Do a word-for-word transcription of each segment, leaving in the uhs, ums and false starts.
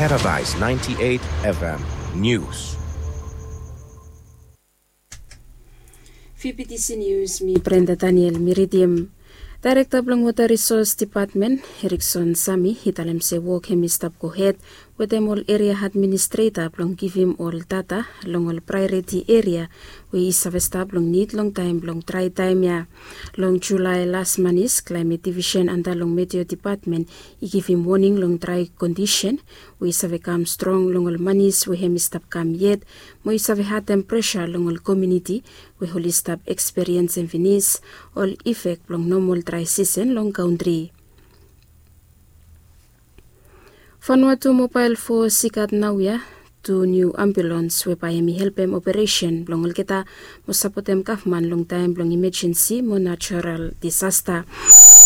Paradise ninety-eight F M News. Fifty C News, mi Brenda Daniel mi ridim. Daerekta blong Wota Risos Depatmen, Erikson Sami, i talem se wok hem i stap gohed wetem ol eria administreta blong givim ol data long ol praeoriti eria we i save stap long nid long taem blong drae taem ya. Long Julae las manis, Klaemet Divisen anda long Meteo Depatmen i givim woning long drae kondisen we i save kam strong long ol manis we hem i stap kam yet, mo i save hatem presa long ol komuniti we oli stap ekspiriensem finis ol ifek blong nomol drae sisen long kantri. Vanuatu Mobael Fos i gat naoia tu niu ambulans we bae hem i helpem operesen blong olgeta mo sapotem gavman long taem blong imajensi mo najoral disasta.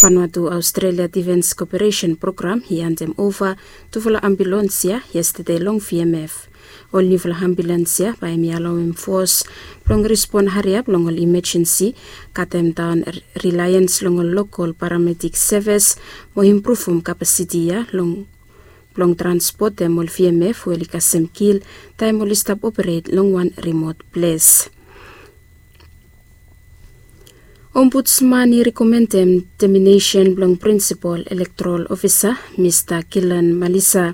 Vanuatu Aostrelia Difens Koperesen Program i handem ova tufala ambulans ya yestede long V M F. Ol niufala ambulans ya bae hem i alaoem fos blong respon hariap long ol imajensi, katem daon rilaens long ol lokol paramedik sevis mo impruvum kapasiti ya long blong transpotem ol V M F we oli kasem kil taem oli stap operet long wan rimot ples. Ombudsman i rekomendem teminesen blong prinsipol elektoral ofisa Mista Kilan Malisa.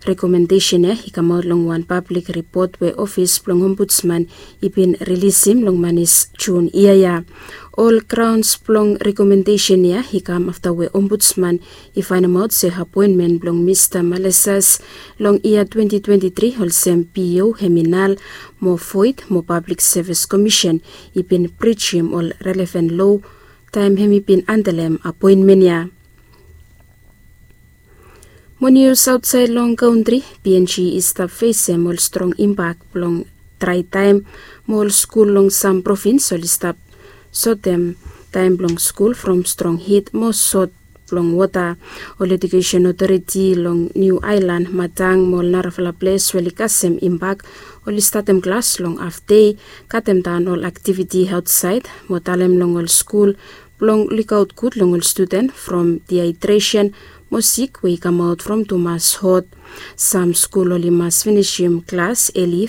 Rekomendesen ya i kamaot long wan pablik ripot we ofis blong ombudsman i bin rilisim long manis Jun yia ya. Ol graons blong rekomendesen ya i kam afta we ombudsman i faenemaot se apoenmen blong Mista Malesas long yia twenty twenty-three olsem P O hem i nal mo void mo Pablik Sevis Komisen i bin brijim ol relevan loa taem hem i bin handelem apoenmen ya. Mo nius aotsaed long kantri, P N G i stap fesem ol strong impak blong drae taem mo ol skul long sam provins oli stap sotem taem blong skul from strong hit mo sot blong wota. Ol Ejukesen Otoriti long Niu Aelan, Madang mo ol narafala ples we oli kasem impak oli statem klas long hafdei, katem daon ol aktiviti aotsaed mo talem long ol skul blong lukaot gud long ol studen from dihaedresen mo sik we i kamaot from tumas hot. Sam skul oli mas finisim klas eli